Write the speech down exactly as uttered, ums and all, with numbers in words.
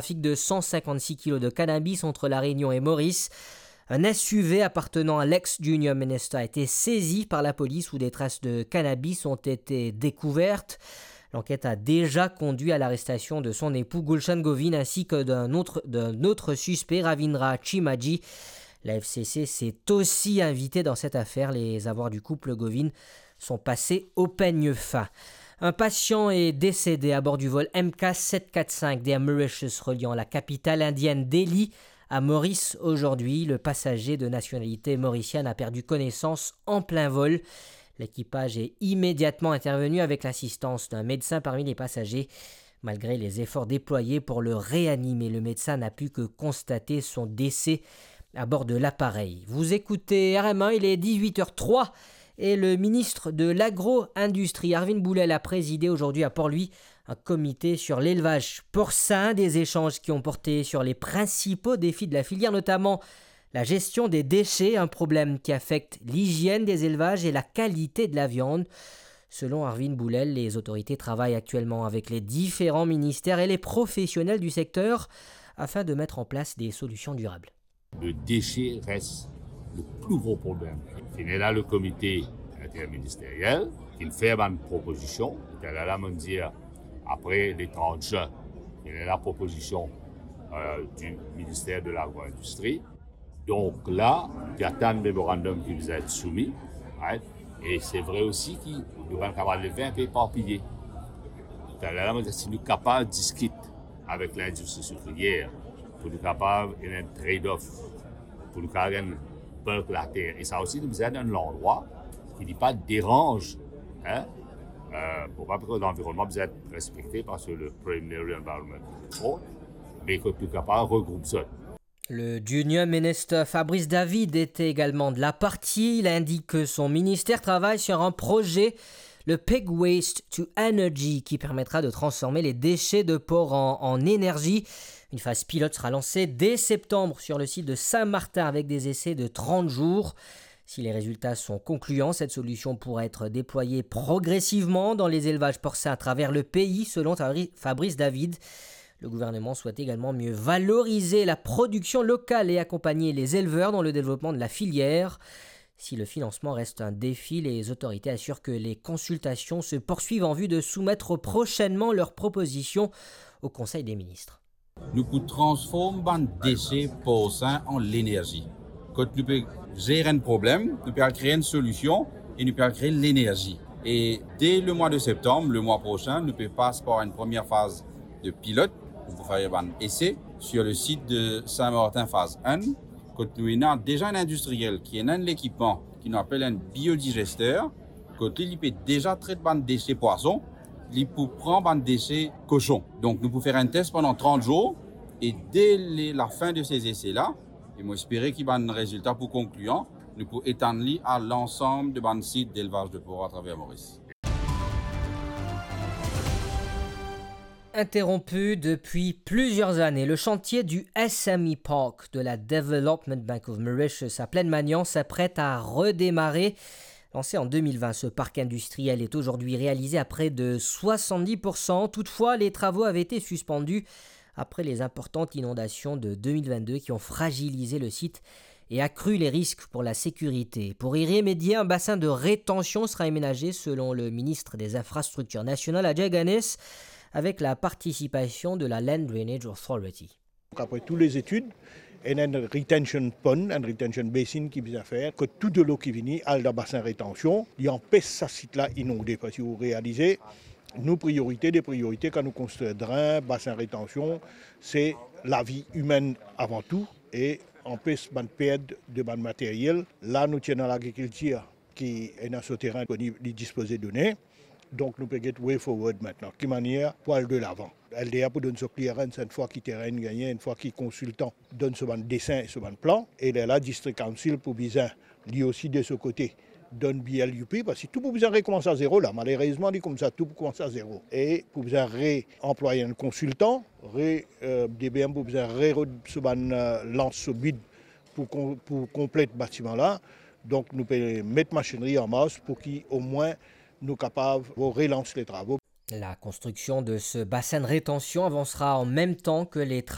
trafic de cent cinquante-six kilos de cannabis entre La Réunion et Maurice. Un S U V appartenant à l'ex-Junior Minister a été saisi par la police où des traces de cannabis ont été découvertes. L'enquête a déjà conduit à l'arrestation de son époux Gulshan Govin ainsi que d'un autre, d'un autre suspect, Ravindra Chimaji. La F C C s'est aussi invitée dans cette affaire. Les avoirs du couple Govin sont passés au peigne fin. Un patient est décédé à bord du vol M K sept quatre cinq d'Air Mauritius reliant la capitale indienne Delhi à Maurice aujourd'hui. Le passager de nationalité mauricienne a perdu connaissance en plein vol. L'équipage est immédiatement intervenu avec l'assistance d'un médecin parmi les passagers. Malgré les efforts déployés pour le réanimer, le médecin n'a pu que constater son décès à bord de l'appareil. Vous écoutez R M un, il est dix-huit heures trois et le ministre de l'Agro-industrie, Arvind Boulel, a présidé aujourd'hui à Port-Louis un comité sur l'élevage porcin. Des échanges qui ont porté sur les principaux défis de la filière, notamment la gestion des déchets, un problème qui affecte l'hygiène des élevages et la qualité de la viande. Selon Arvind Boulel, les autorités travaillent actuellement avec les différents ministères et les professionnels du secteur afin de mettre en place des solutions durables. Le déchet reste le plus gros problème. Finn ena le comité interministériel ki fer bann propozision. Talera la, mo dir, apre le trant zin, finn ena propozision, euh, du ministère de l'Agro-industrie. Donk la, nou atann memorandum ki bizin et soumi, right? E se vre osi ki nou pa'nn kapav leve inpe eparpiye. Talera la, mo dir, si nou kapav diskit avek lindistri sikriyer, pou nou kapav ena enn trade-off, pou nou kapav gagn bulk later. E sa osi, nou bizin dan enn landrwa ki li pa deranz, hein? Euh, pou pa, parski lanvironnman bizin et respekte, parski le primary environment report, me kot nou kapav regroup zot. Le junior minister Fabrice David était également de la partie. Il indique que son ministère travaille sur un projet, le Pig Waste to Energy, qui permettra de transformer les déchets de porc en, en énergie. Une phase pilote sera lancée dès septembre sur le site de Saint-Martin avec des essais de trente jours. Si les résultats sont concluants, cette solution pourra être déployée progressivement dans les élevages porcins à travers le pays, selon Fabri-, Fabrice David. Le gouvernement souhaite également mieux valoriser la production locale et accompagner les éleveurs dans le développement de la filière. Si le financement reste un défi, les autorités assurent que les consultations se poursuivent en vue de soumettre prochainement leurs propositions au Conseil des ministres. Nou pou transform bann dese porsin an lenerzi. Kot nou pe zer enn problem, nou pe al kre enn solision e nou pe al kre lenerzi. E de le mwa de septanm, le mwa prosin, nou pe pas par enn premie faz de pilot, nou pou fer bann ese sur le sit de Saint-Martin faz enn, kot nou ena deza enn indistriel ki ena enn lekipman ki nou apel enn biodigester, kot li, li pe deza tret bann dese pwason, li pou pran bann dese koson. Donk nou pou fer enn tes pandan trant zour, e de le, lafin de se zese la, e mo espere ki bann rezilta pou konklian, nou pou etann li a lansam de bann sit delvaz de por atraver Moris. Interrompu depuis plusieurs années, le chantier du S M E Park de la Development Bank of Mauritius à Plaine-Magnan s'apprête à redémarrer. Lancé en deux mille vingt, ce parc industriel est aujourd'hui réalisé à près de soixante-dix pour cent. Toutefois, les travaux avaient été suspendus après les importantes inondations de deux mille vingt-deux qui ont fragilisé le site et accru les risques pour la sécurité. Pour y remédier, un bassin de rétention sera aménagé selon le ministre des Infrastructures nationales, Ajay Ganesh, avec la participation de la Land Drainage Authority. Apre tou lezetid, ena enn retention pond, enn retention basin ki bizin fer, kot tou delo ki vini al dan basin retansion, li anpes sa sit la inonde. Parski ou realize, nou priorite de priorite kan nou konstrir dren, basin retansion, se lavi imenn avan tou, e anpes bann pert de bann materyel. La nou ti ena lagrikiltir ki ena so terin disponib, li dispoze done. Donk nou pe get way forward aster, ki manier pou al delavan. L D A pou donn so clearance enn fwa ki terin gagne, enn fwa ki konsiltan donn so bann desin e so bann plan, e lerla District Council pou bizin li osi de so kote donn B L U P, parski tou pou bizin rekoumans a zero la. Malerezman, li koumsa, tou pou koumans a zero. E pou bizin reanplwaye enn konsiltan, re, euh, D B M pou bizin rerod so bann, euh, lans so bid pou kon-, pou konplet batiman la. Donk nou pe met masinri an mars pou ki omwin nou kapav relans le travo. La construction de ce bassin de rétention avancera en même temps que les